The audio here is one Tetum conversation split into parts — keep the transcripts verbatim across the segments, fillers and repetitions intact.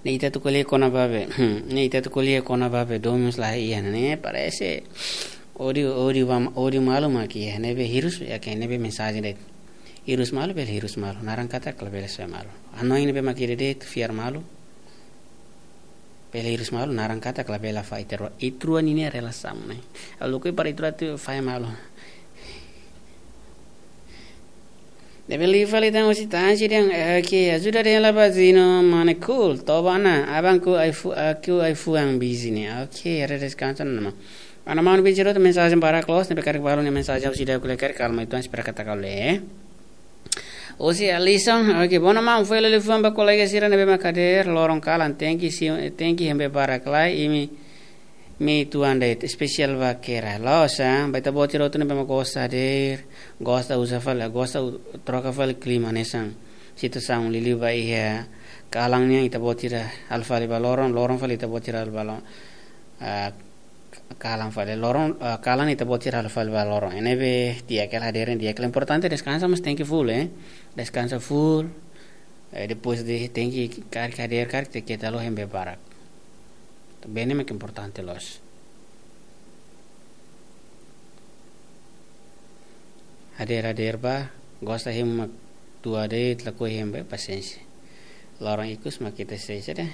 Ne'e ita atu ko'alia kona-ba be. Hmm, ne'e ita atu ko'alia kona-ba be domin mós la iha ne'e. Parese odiu, odiu ba, odiu malu mak iha ne'ebé hirus, ya ke ne'ebé mensajen de'it. Hirus malu, bele hirus malu. Naran katak labele soe malu. Hanoin ne'ebé mak ida de'it, fiar malu. Bele hirus malu, naran katak labele fai ita rua. Ita rua ninia relasaun ne'e. Ha'u lakohi para ita rua atu fai malu. Ne'ebé liu fali tan husi Tansi dehan, eh, oke, ajuda dehan la ba Zino, mane cool, toba ona, aban ku ai fu-, aku ai-fuan busy ne'e. Oke, haree deskansa ona maun. Mana maun vinte e oito mensajen para close, ne'ebé karik balu nia mensajen ha'u seidauk lee karik, kalma ituan, espera katak ha'u lee. Husi Alison, oke, boa ona maun, foin hela liafuan ba kolega sira ne'ebé mak hadeer, loron kalan, tenke si, tenke hembe barak lai, imi, imi tuan de'it, espesiál ba Kera. La'ós, ah, ba ita-boot sira hotu ne'ebé mak gosta hadeer, gosta uza fali, gosta u-, troka fali klima hanesan. Situasaun liuliu ba iha kalan nian ita-boot sira halo fali ba loron, loron fali ita-boot sira halo ba loron. Ah, kalan fali loron, ah, kalan ita-boot sira halo fali ba loron. Ne'ebé di'ak hela hadeer, di'ak hela, importante deskansa, mas tenke full, eh. Deskansa full. Eh, depois de tenke karik hadeer, karik tenke talo hembe barak. Bene mak importante loos. Hadeer, hadeer ba, gosta hemu mak tua de'it, lakohi hemu ba, pasiénsia. Loron ikus mak ita sei sede.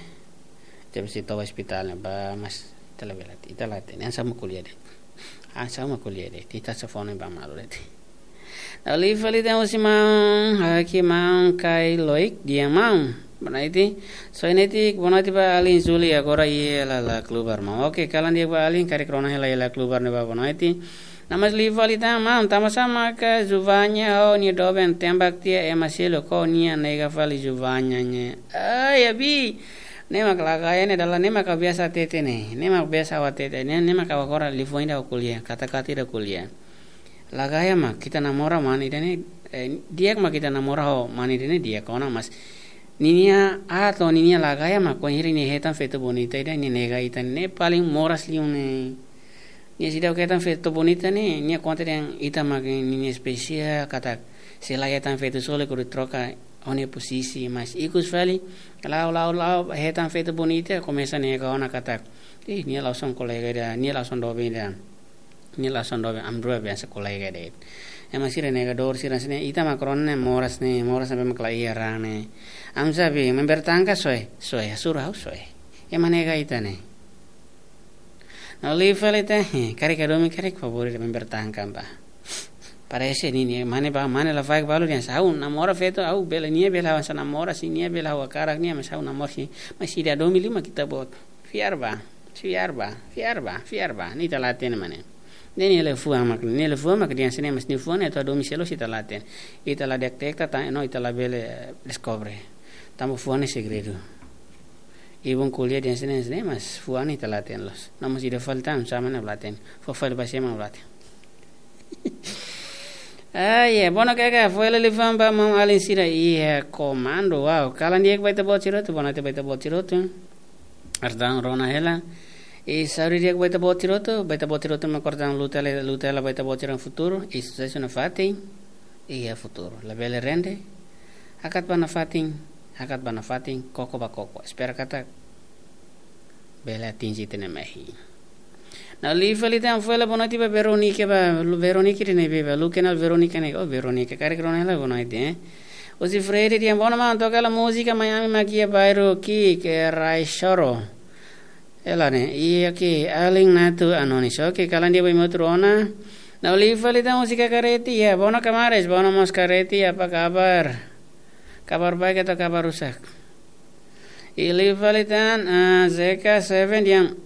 Jab si toba ospitál ne'e ba, mas ita labele, ita la hatene, hanesan mak ko'alia de'it. Hanesan mak ko'alia de'it, ita sei fó ona ba malu de'it. Ha'u liu fali tan husi maun, hakimaun kai loik, di'ak maun. Bonoite, soe netik, bonoite ba alin Zuli, agora iha hela la klubar maun. Oke, kalan di'ak ba alin, karik rona hela iha la klubar ne'ebá, bonoite. Namas liu fali tan maun, tanbasá maka Zuvanya ho nia doben tembak tiha ema seluk, ho nia nega fali Zuvanya ne'e. Ai, abi, ne'e mak lagaya ne'e dala, ne'e mak biasa hatete ne'e, ne'e mak biasa ha'u hatete ne'e, ne'e mak agora liafuan ida ha'u ko'alia, kata-kata ida ha'u ko'alia. Lagaya mak ita namora mane ida-ne'e, eh, di'ak mak ita namora ho mane ida-ne'e di'ak ona, mas ninia ato, ninia lagaya mak kuandu nia hetan feto bonita ida, nia nega ita, ne'e paling moras liu ne'e. Nia seidauk hetan feto bonita ne'e, nia konta dehan ita mak ninia espesiál, katak se la hetan feto sira hodi troka ho nia posisi, mas ikus fali, la'o, la'o, la'o, hetan feto bonita, komesa nega ona katak, ih, nia la'ós kolega ida, nia la'ós doben ida. Nia la'ós doben, ami rua be hanesan kolega de'it. Ema sira negadór sira hanesan ne'e, ita mak rona ne'e moras ne'e, moras ne'ebé mak la iha raan ne'e. Ami sá be, member tangka soe, soe, hasoru ha'u soe. Ema nega ita ne'e. Ha'u liu fali tan, eh, karik hadomi karik favór ida member tangka ba. Parese ninia, mane ba, mane lafaek balu dehan ha'u namora feto, ha'u bele nia bele ha'u hanesan namora, se nia bele ha'u hakarak nia, mas ha'u namora si, mas ida domi lima kita bot. Fiar ba, fiar ba, fiar ba, fiar ba. Ne'e ita la hatene mane. Ne'e nia liafuan mak, nia liafuan mak dehan hanesan ne'e, mas nia fuan ne'e atu hadomi selu, ita la hatene. Ita la detekta tan, no ita labele, eh, deskobre. Tanba fuan ne'e segredu. Ibun ko'alia dehan hanesan ne'e, hanesan ne'e, mas fuan ne'e ita la hatene loos. Namas ida fali tan, sama ne'e la hatene. Fó fali ba sema la hatene. Ah, ya, bonoite kaka, foin hela liafuan ba maun alin sira iha komandu, wow. Kalan di'ak ba ita-boot sira hotu, bonoite ba ita-boot sira hotu. Ardan rona hela. I saúde di'ak ba ita-boot sira hotu, ba ita-boot sira hotu mak kordang luta le, luta hela ba ita-boot sira-nia futuru, i susesu nafatin, iha futuru. Labele rende, hakat ba nafatin, hakat ba nafatin, koko ba koko. Espera katak bele atinje ita-nia mehi. Ha'u liu fali tan, foin hela bonoite ba Veronica ba, Lu-, Veronica ida-ne'ebé ba, Lu kenal Veronica ne'e, oh, Veronica, karik rona hela bonoite, eh. Husi Freddy dehan, boa ona maun, toka hela múzika Miami mak iha bairru ki'ik, Rai Choro. Hela ne'e, iha ke, Alin Natu Anonis, oke, kalan di'ak ba imi hotu rona. Ha'u liu fali tan husi Kakareti, ya, boa ona Kamares, boa ona mós Kareti, apa kabar? Kabar baik atau kabar rusak? I liu fali tan, ah, Z K seven dehan,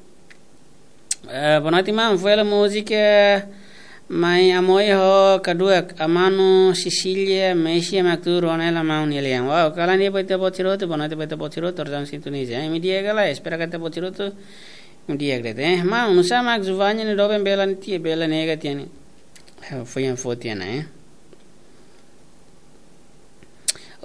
eh, bonoite maun, foin hela múzika Mai Amoi ho Kaduak, Amanu, Cecília, Messi, Maktu, Ronela, maun nia lian. Wow, kalan di'ak ba ita-boot sira hotu, bonoite ba ita-boot sira hotu, torjang sintonia. Imi di'ak ka lae, espera katak ita-boot sira hotu imi di'ak de'it, eh. Maun, nusá mak Zuvanya nia doben bele tiha, bele nega tiha ne'e. Eh, foin yang foti ana, eh.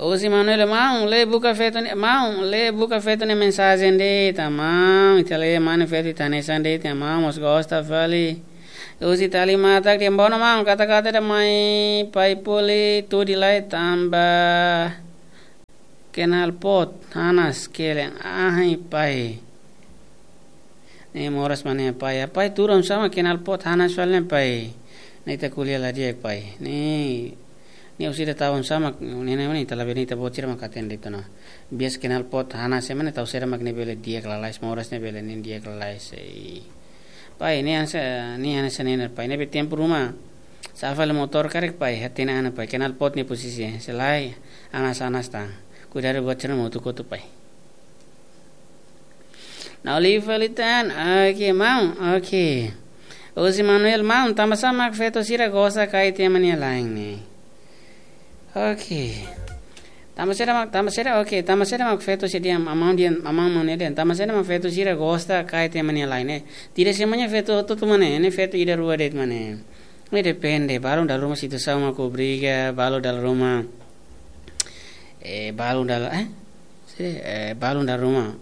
Husi Manuel, maun, lee buka feto ne'e, maun, lee buka feto nia mensajen de'it, maun, ita lee mane feto ita hanesan de'it, maun, mós gosta fali. Husi Tali Matak dehan, boa ona maun, kata-kata ida mai Pai Poli, tuur lai tanba. Knalpot hanas kelen ahi pai. Ne'e moras mak ne'e pai. Pai tuur oinsá mak knalpot hanas fali ne'e pai. Ne'e ita ko'alia la di'ak pai. Ne'e, ne'e orsida tau oinsá mak ne'e ne'e ita labele ita-boot sira mak hatene de'it ona. Biasa knalpot hanas ema ne'e tau sira mak ne'e bele di'ak lalais, moras ne'e bele ne'e di'ak lalais. Pai, ne'e hanesan, ne'e hanesan ne'e pai. Ne'ebé tempu ruma sa'e fali motór karik pai, hatene an pai. Knalpot nia posisi, se lae, hanas hanas tan. Kuidadu buat sira-ne'e mak kotu-kotu pai. Nau liu fali tan, oke, maun, oke. Husi Manuel, maun, tanbasá mak feto sira gosta kaer ema nia la'en ne'e? Oke. Tanbasá mak, tanbasá, oke, tanbasá mak feto sira dehan, maun dehan, maun Manuel dehan, tanbasá mak feto sira gosta kaer ema nia la'en ne'e? Tidak semuanya feto hotu-hotu mak ne'e, ne'e feto ida rua de'it mak ne'e. Ne'e depende, balu dala ruma situasaun mak obriga, balu dala ruma, eh, balu dala, eh, se, eh, balu dala ruma,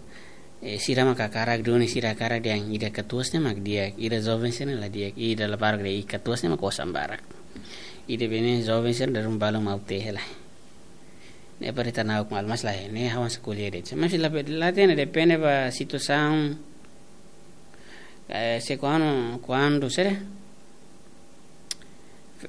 eh, sira mak hakarak duni, sira hakarak dehan ida katuas ne'e mak di'ak, ida joven sira ne'e la di'ak, ida labarik de'it, ida katuas ne'e mak osan barak. Ida bene joven sira dala ruma balu mak utehe la. Ne'e para ita na'ok malu, mas lae, ne'e ha'u hanesan ko'alia de'it. Mas la, la hatene, depende ba situasaun, eh, se kuandu, kuandu sira.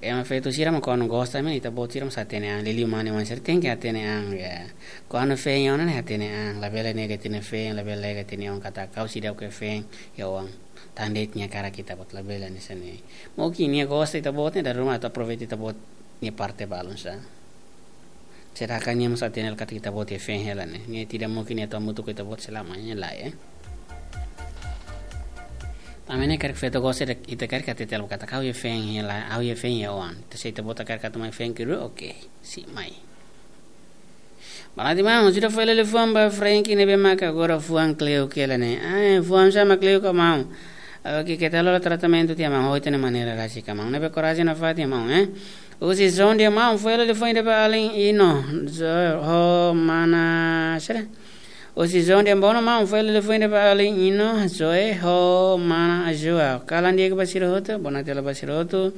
Ema feto sira mak kuandu gosta mak ita-boot sira mak hatene an, liuliu mane-mane sira tenke hatene an, ya. Kuandu feen ona ne'e hatene an, labele nega ita-nia feen, labele nega ita-nia oan katak ha'u seidauk feen iha oan. Tan de'it nia hakarak ita-boot, labele hanesan ne'e. Mungkin nia gosta ita-boot ne'e dala ruma atu aproveita ita-boot nia parte balun sá. Sedangkan nia mós hatene katak ita-boot iha feen hela ne'e. Nia tidak mungkin nia atu hamutuk ho ita-boot selamanya, lae, eh. Tanba ne'e karik feto gosta ita, ita karik hatete katak ha'u iha feen hela, ha'u iha feen iha oan. Ita, se ita-boot hakarak atu mai feen kedua, oke, sei mai. Barak ida maun, sira fó hela liafuan ba Frank ne'ebé maka agora fuan kle'uk hela ne'e. Ah, fuan sá mak kle'uk ka maun? Oke, keta lori tratamentu tiha maun, ho ita-nia maneira rasik ka maun. Ne'ebé korajen nafatin maun, eh. Husi João dehan maun, fó hela liafuan ida ba alin Ino, João ho mana sira. Husi João dehan bono maun, fó hela liafuan ida ba alin Ino, João ho mana João. Kalan di'ak ba sira hotu, bonatia ba sira hotu.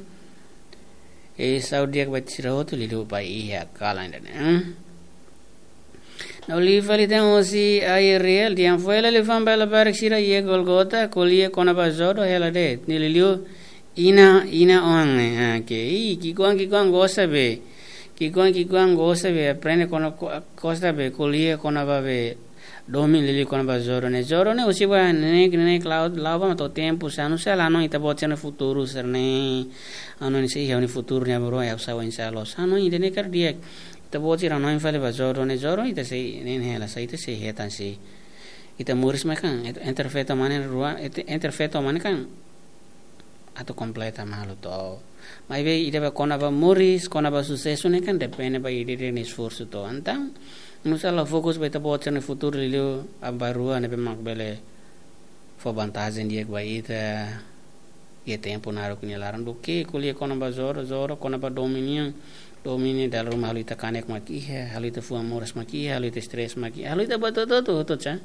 I saúde di'ak ba sira hotu, liuliu ba iha kalan ida-ne'e, eh. Nau liu fali tan husi Ariel, dehan fó hela liafuan ba labarik sira iha Golgota, ko'alia kona-ba jodoh hela de'it. Ne'e liuliu inan, inan-oan ne'e. Ah, oke. I, ki'ikoan, ki'ikoan gosta be. Ki'ikoan, ki'ikoan gosta be. Aprende kona, ko-, gosta be. Ko'alia kona-ba be. Domin liuliu kona-ba jodoh ne'e. Jodoh ne'e husi ba neineik, neineik la'o, la'o ba mak to'o tempu sá, nu'usá la hanoin ita-boot sira-nia futuru sira-ne'e. Hanoin se iha ha'u-nia futuru ne'e aban-bainrua ha'u sai oinsá loos. Hanoin ida-ne'e karik di'ak. Ita-boot sira hanoin fali ba jodoh ne'e, jodoh ita sei, ne'e, ne'e hela sá ita sei hetan sá. Ita moris mai kan, et-, entre feto mane rua, et-, entre feto mane kan atu kompleta malu to. Maibé ida ba kona-ba moris, kona-ba susesu ne'e kan depende ba ida-idak nia esforsu to. Entaun, nu'usá la fokus ba ita-boot sira-nia futuru liuliu aban-bainrua ne'ebé mak bele fó vantajen di'ak ba ita iha tempu naruk nia laran duké ko'alia kona-ba jodoh, jodoh kona-ba domin nian. Domin ne'e dala ruma halo ita kanek mak iha, halo ita fuan moras mak iha, halo ita stres mak iha, halo ita buat hotu-hotu sá.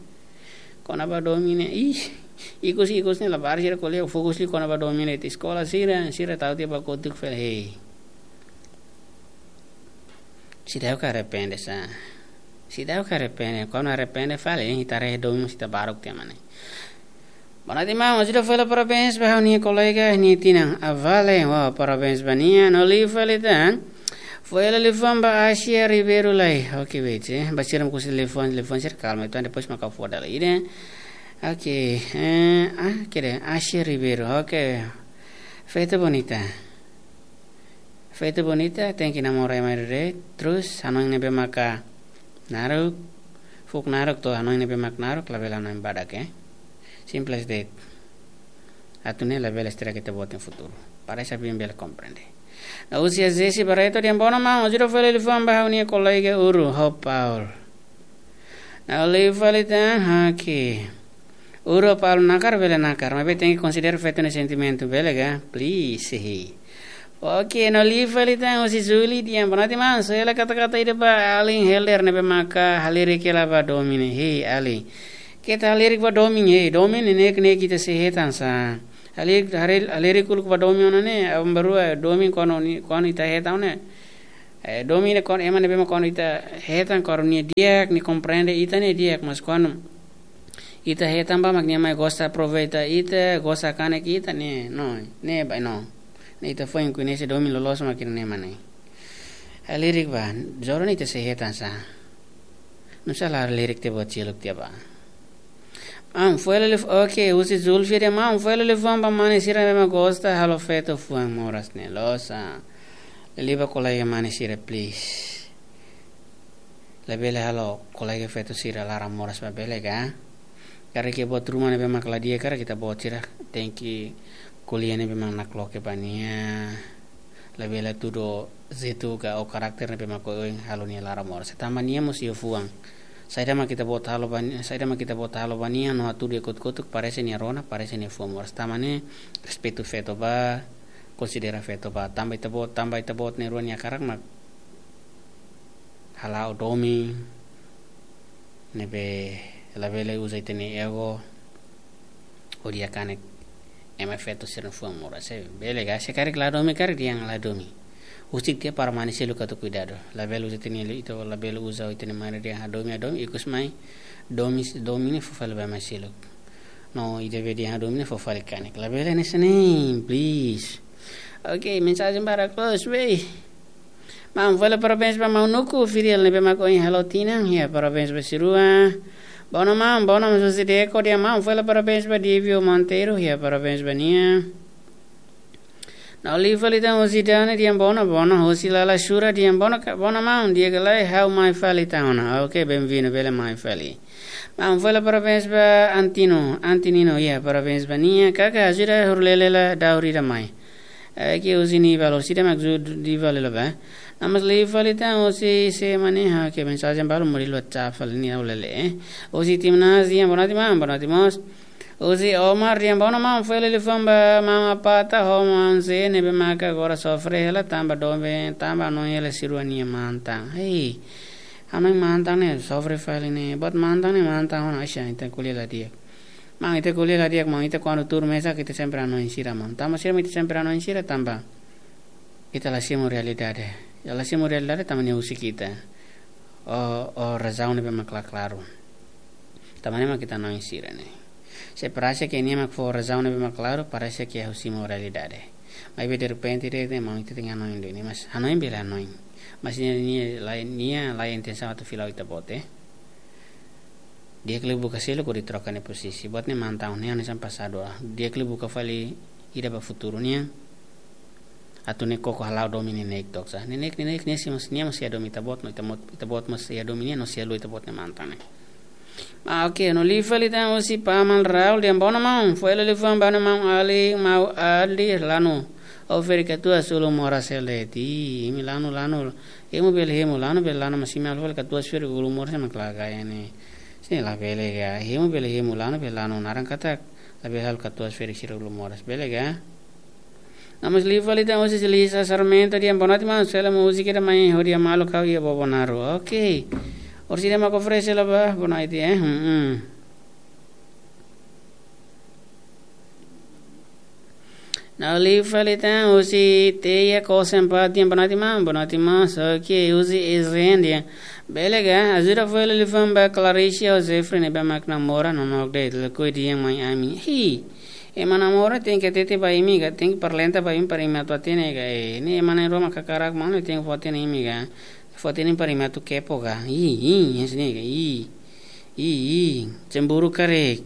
Kona-ba domin ne'e, ih, ikus-ikus ne'e labarik sira ko'alia fokus liu kona-ba domin ne'e, ita eskola sira, sira tau tiha ba kotuk fali, hei. Seidauk arrepende sá. Seidauk arrepende, kuandu arrepende fali, ita haree domin mós ita baruk tiha mak ne'e. Bonatia maun, sira fó hela parabéns ba ha'u-nia kolega nia tinan. Avale, wow, parabéns ba nia, nau liu fali tan. Fó hela liafuan ba Asia Ribeiro lai. Oke, wait, eh. Ba sira mak husu liafuan, liafuan sira kalma. Entaun depois mak ha'u fó dala ida. Oke, eh, ah, kira Asia Ribeiro. Oke. Feto bonita. Feto bonita, tenke namora ema ida de'it, terus hanoin ne'ebé maka naruk, fuuk naruk to'o hanoin ne'ebé mak naruk, labele hanoin badak, eh. Simples de'it. Atu ne'e labele estraga ita-boot nia futuru. Para ita bele komprende. Nau husi Jesse Barreto dehan bono maun, ajuda fó hela liafuan ba ha'u-nia kolega Uru, ho Paul. Nau liu fali tan, oke. Uru ho Paul nakar, bele nakar, maibé tenke konsidera feto nia sentimentu, bele ka? Please, hehe. Oke, nau liu fali tan husi Julie dehan, bonatia maun, só hela kata-kata ida ba alin Helder ne'ebé maka halerik hela ba domin ne'e, hei, alin. Keta halerik ba domin, hei, domin ne'e ne'e ita sei hetan sá. Halerik, halerik, halerik uluk ba domin ona ne'e, aban-bainrua, domin kuandu ni, kuandu ita hetan ne'e. Eh, domin ne'e kuandu ema ne'ebé mak kuandu ita hetan kuandu nia di'ak, nia komprende ita ne'e di'ak, mas kuandu ita hetan ba mak nia mai gosta aproveita ita, gosta kanek ita ne'e, no, ne'e ba no. Ne'e ita foin koñese domin loloos mak ne'e mak ne'e. Eh, lirik ba, jodoh ne'e ita sei hetan sa. Nusá la lirik tiha buat seluk tiha ba. Maun, fó hela liafuan, oke, husi Zulfia dehan, maun, fó hela liafuan ba mane sira ne'ebé mak gosta halo feto fuan moras ne'e, loos. Liuliu ba kolega mane sira, please. Labele halo kolega feto sira laran moras ba, bele ka? Karik iha buat ruma ne'ebé mak la di'ak karik ita-boot sira tenke ko'alia ne'ebé mak nakloke ba nia. Labele hatudu jeitu ka ou karakter ne'ebé mak oioin halo nia laran moras. Tanba nia mós iha fuan. Saida mak ita-boot halo ba nia, saida mak ita-boot halo ba nia, no hatudu iha kotuk-kotuk, parese nia rona, parese nia fuan moras. Tanba ne'e respeitu feto ba, konsidera feto ba. Tanba ita-boot, tanba ita-boot na'in-rua nia hakarak mak hala'o domin ne'ebé labele uza ita-nia ego hodi hakanek ema feto sira-nia fuan moras. Se bele ka, se karik la domin, karik dehan la domin. Husik tiha para mane seluk atu kuidadu. Labele uza ita-nia li-, ita labele uza ita-nia mane dehan hadomi, hadomi, ikus mai domin, domin ne'e fó fali ba mane seluk. No, ida be dehan hadomi ne'e fó fali kanek. Labele hanesan ne'e, please. Oke, mensajen barak close, wei. Maun, fó hela parabéns ba maun Nuku, Fidel ne'ebé mak ohin halo tinan, iha parabéns ba sira-rua. Bona maun, bona maun José Deco dehan, maun, fó hela parabéns ba Divio Monteiro, iha parabéns ba nia. No liu fali tan husi Dani dehan bona, bona, husi Lala Shura dehan bona ka, bona maun, di'ak ka lae, ha'u mai fali tan ona. Oke, bem-vindo, bele mai fali. Maun, fó hela parabéns ba Antino, Antinino, iha parabéns ba nia, kaka ajuda hori lele la daur ida mai. Eh, ke husi Nival, husi ida mak ajuda Nival la ba. No mós liu fali tan husi se mane, ha, ke mensajen balu muri lua WhatsApp fali ne'e ha'u la lee, eh. Husi Timnas dehan, bona tinan, bona tinan mós. Husi Omar dehan, bona maun, fó hela liafuan ba maun Apata ho maun Zé ne'ebé maka agora sofre hela tanba domin, tanba hanoin hela sira-rua nia mantan. Hei, hanoin mantan ne'e sofre fali ne'e, buat mantan ne'e mantan ona, aixa, ita ko'alia la di'ak. Maun, ita ko'alia la di'ak, maun, ita kuandu tuur mesak ita sempre hanoin sira, maun. Tanba sira mak ita sempre hanoin sira, tanba ita la simu realidade. Ya, la simu realidade tanba nia husik ita. Ho, ho razaun ne'ebé mak la klaru. Tanba ne'e mak ita hanoin sira ne'e. Se parese ke nia mak fó razaun ne'ebé mak klaru, parese ke ha'u simu realidade. Maibé derrepente de'it ne'e maun, ita tenke hanoin de'it ne'e, mas hanoin bele hanoin. Mas nia, nia la, nia la intensaun atu fila ita-boot, eh. Di'ak liu buka seluk hodi troka nia pozisi. Buat ne'e mantan, ne'e hanesan pasadu, ah. Di'ak liu buka fali ida ba futuru nian. Atu ne'e koko hala'o domin neineik took sa. Neineik, neineik, nia sei mós, nia mós sei hadomi ita-boot, no ita-boot, ita-boot mós sei hadomi nia, no sei haluha ita-boot nia mantan ne'e. Ah, oke, no liu fali tan husi paman Raul dehan, bona maun, fó hela liafuan ba maun Ali, maun Ali, lanu. Ha'u ferik katuas ulun moras hela de'it. Imi lanu, lanu. Hemu bele hemu, lanu bele lanu, mas imi halo fali katuas ferik ulun moras mak la gaya ne'e. Sini la bele ka. Hemu bele hemu, lanu bele lanu, naran katak labele halo katuas ferik sira ulun moras, bele ka? No mós liu fali tan husi Lisa Sarmento dehan, bona tinan maun, sela múzika ida mai hodi hamaluk ha'u iha Bobonaro. Oke. Orsida mak oferese la ba, bona iti, eh. Hmm, hmm. No liu fali tan husi Teia Kosen Pat dehan, bona tinan maun, bona tinan maun, oke, husi Ezren dehan. Bele ka, ajuda fó hela liafuan ba Claricia ho Jeffrey ne'ebé mak namora, no nok de'it, lakohi dehan mai ami. Hi. Ema namora tenke hatete ba imi ka, tenke parlenta ba imi para imi atu hatene ka, eh, ne'e ema na'in-rua mak hakarak maun, tenke fó hatene imi ka. Fó hatene para imi atu kepo ka. Ih, ih, hanesan ne'e ka, ih. Ih, ih, cemburu karik.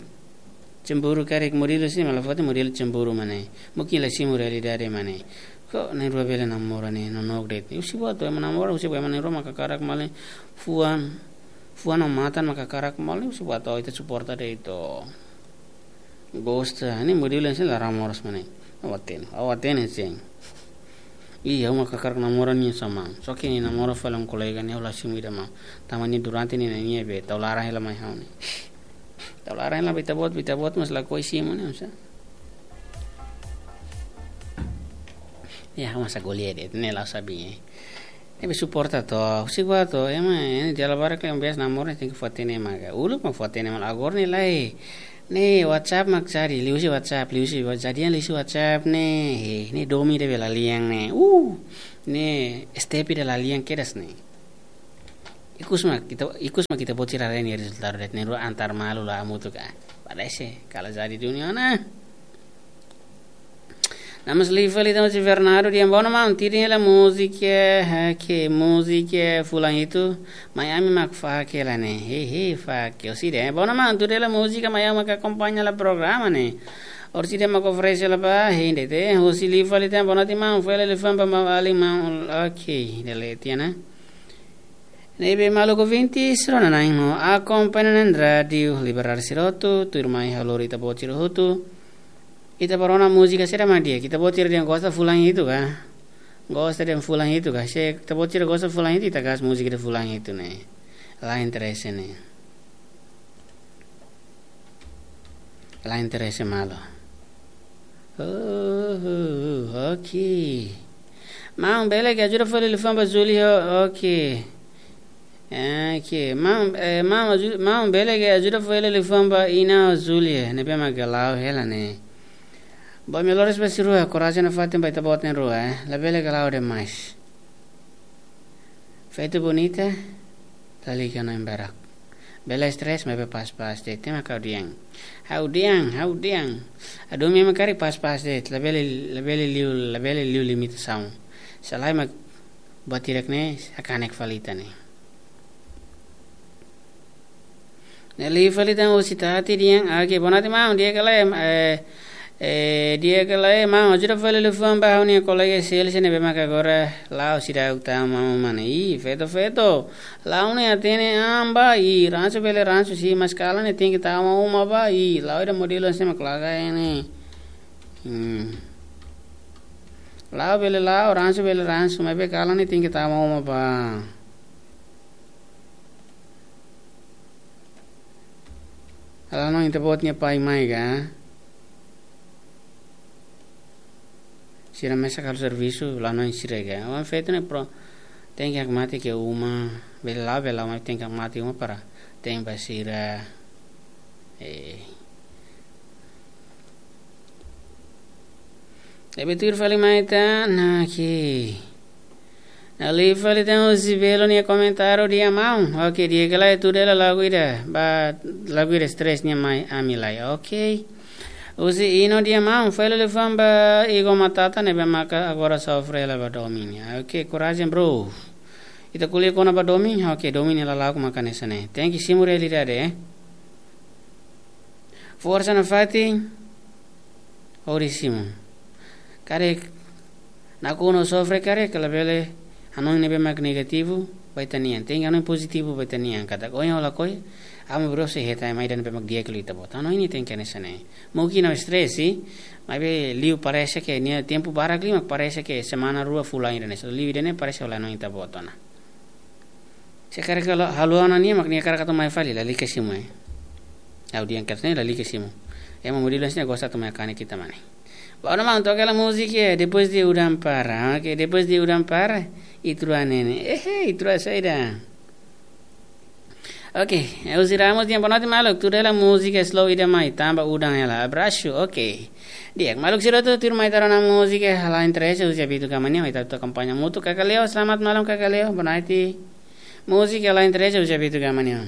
Cemburu karik, modelu sira mak la fó hatene modelu cemburu mak ne'e. Mungkin la simu realidade mak ne'e. Kok na'in-rua bele namora ne'e, no nok de'it. Husi buat to'o ema namora, husi buat ema na'in-rua mak hakarak maun, fuan. Fuan no matan mak hakarak maun, husi buat to'o ita suporta de'it. Gosta, ne'e modelu hanesan laran moras mak ne'e. Ha'u hatene, ha'u hatene sin. Ih, ha'u mak hakarak namora nia sa maun. Só ke nia namora fali ho kolega nia, ha'u la simu ida maun. Tanba nia durante ne'e nia be tau laran hela mai ha'u ne'e. Tau laran hela ba ita-boot, ba ita-boot mas lakohi simu ne'e, sa. Ya, ha'u mós ko'alia de'it, ne'e la'ós sabi, eh. Ne'ebé suporta to'o, husik ba to'o, ema, eh, dala barak ke biasa namora tenke fó hatene mak ka. Uluk mak fó hatene maun, agora ne'e lae. Ne'e WhatsApp mak cari, liuhusi WhatsApp, liuhusi wa-, jadian liuhusi WhatsApp ne'e, eh, ne'e domin ida be la lian ne'e. Uh, Ne'e step ida la lian kedas ne'e. Ikus mak ita, ikus mak ita-boot sira haree nia rezultadu de'it, ne'e rua antar malu la hamutuk ka. Parese kala jadi dunia ona. Namas live fali tama si Fernando, dehan: "Boa ona maun, tuir hela múzika, eh, ke múzika fulan hitu, mai ami mak fake la ne'e." He, he, fake. Orsida, eh, boa ona maun, tuir hela múzika, mai ami mak akompaña hela programa ne'e. Orsida mak oferese hela ba, he, inde te, husi live fali tama, boa ona ti maun, fó hela liafuan ba maun alin maun, ok, dele tiana. Ne'ebé maluk ouvintes, rona na'in ho akompaña na'in rádiu Liberdade sira hotu, tuirmai ha'u lori ita-boot sira hotu. Ita bá rona múzika saida mak di'ak, ita-boot sira dehan gosta fulan hitu ka? Gosta dehan fulan hitu ka? Se ita-boot sira gosta fulan hitu, ita gas múzika ida fulan hitu ne'e. La interese ne'e. La interese malu. Oh, oh, oh, ok. Maun, bele ke ajuda fó hela liafuan ba Júlia, ok. Eh, ke, maun, eh, maun, aju-, maun, bele ke ajuda fó hela liafuan ba Ina ho Júlia, ne'ebé mak la'o hela ne'e. Boa, melhores ba sira rua, korajen nafatin ba ita-boot na'in rua, eh. Labele ke la'o demais. Feto bonita, lalika hanoin barak. Bele stress, maibé pas-pas de'it, ema ha'u dehan. Ha'u dehan, ha'u dehan. Adu mi ema karik pas-pas de'it, labele, labele liu, labele liu limitasaun. Se lae mak buat hirak ne'e, hakanek fali ita ne'e. Ne'e live fali tama husi Tati dehan, ah, ke boa ona ti maun, di'ak ka lae, eh, eh, di'ak ka lae maun, ajuda fó hela liafuan ba ha'u-nia kolega Celso ne'ebé mak agora la'o seidauk tama uma ne'e. Ih, feto, feto. La'o ne'e hatene an ba, ih, ransu bele ransu, se mas kalan ne'e tenke tama uma ba, ih, la'o ida modelu hanesan mak laga ne'e. Hmm. La'o bele la'o, ransu bele ransu, maibé kalan ne'e tenke tama uma ba. Ha'u la hanoin ita-boot nia pai mai ka. Sira mesak halo servisu, la hanoin sira ka. Oan feto ne'e pro, tenke hakmatek iha uma, bele la'o, bele la'o, maibé tenke hakmatek iha uma para te'in ba sira. Eh. Ne'ebé tuir fali mai tan, ok. Ne'e live fali tan husi Belo nia komentáriu dehan maun. Ok, di'ak ka lae, tuir hela lagu ida. Ba lagu ida stress nia mai ami lai. Ok. Husi Ino dehan maun, fó hela liafuan ba Igo Matata ne'ebé maka agora sofre hela ba domin. Ok, korajen bro. Ita ko'alia kona-ba domin, ok, domin nia lala'ok maka hanesan ne'e. Tenke simu realidade, eh. Forsa nafatin, hodi simu. Karik nakonu sofre karik, labele hanoin ne'ebé mak negativu ba ita-nian. Tenke hanoin pozitivu ba ita-nian. Katak ohin ho lakohi, ami bro se hetan ema ida ne'ebé mak di'ak liu ita-boot. Hanoin ne'e tenke hanesan ne'e. Mungkin ha'u stress, maibé liu parese ke nia tempu barak liu mak parese ke semana rua fulan ida ne'e. So liu ida ne'e parese ha'u la hanoin ita-boot ona. Se karik halo, halo ona nia mak nia hakarak atu mai fali, lalika simu, eh. Ha'u dehan katak ne'e lalika simu. Ema modelu hanesan ne'e gosta atu mai hakanek ita mak ne'e. Ba ona maun, toka hela múzika, eh, Depois de Udan Para. Ok, Depois de Udan Para, Itrua Nene. Ehe, Itrua saida. Ok, Elzi Ramos dehan boa noite maluk, tuir hela múzika slow ida mai, tanba udan hela. Abraço, ok. Di'ak, maluk sira hotu tuirmai ita rona múzika, La Entrega, husi Abito Gama nian, ita atu akompaña hamutuk. Kaka Leo, selamat malam Kaka Leo, boa noite. Múzika La Entrega, husi Abito Gama nian.